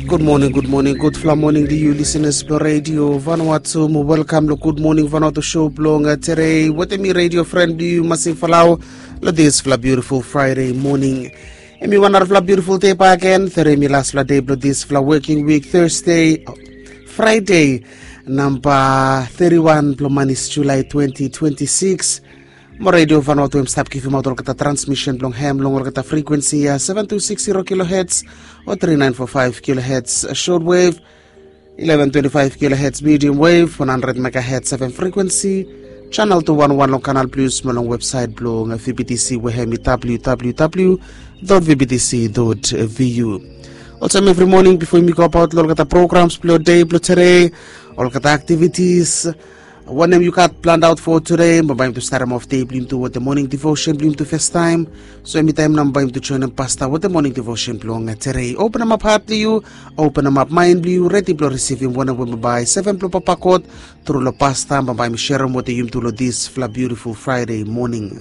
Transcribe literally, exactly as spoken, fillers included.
Gud moning, gud moning, gudfala moning long yu lisenas blong redio Vanuatu. Mo welkam long Gud Moning Vanuatu show blong tedei wetem mi redio fren blong yu Masing Falau long disfala biutiful Fraede moning. Em i wan narafala biutiful dei bagen, tedei mi lasfala dei blong disfala woking wik, Thursday, Fraede, namba thirty-one blong manis Julai twenty twenty-six. Mo redio Vanuatu em stap givimaot olgeta transmisen blong hem long olgeta frekuensi ya, seven two six zero kilohertz o three nine four five kilohertz shortwave, eleven twenty-five kilohertz medium wave, one hundred megahertz F M frekuensi, channel two one one long Canal Plus mo long website blong V B T C we hem i W W W dot V B T C dot V U. Olsem evri moning bifo yumi go abaot long olgeta programs blong dei blong tedei, olgeta aktivitis, wanem yu gat planned out for today, bambae yumi tu starem of dei blong yumi tu wetem moning devotion blong yumi tu festaem. So emi taem nao bambae yumi tu joinem pasta wetem moning devotion blong tedei. Openem ap hat blong yu, openem ap maen blong yu, redi blong risivim wanem we bambae seven blong papa God tru long pasta bambae mi serem wetem yumi tu long disfala biutiful Fraede moning.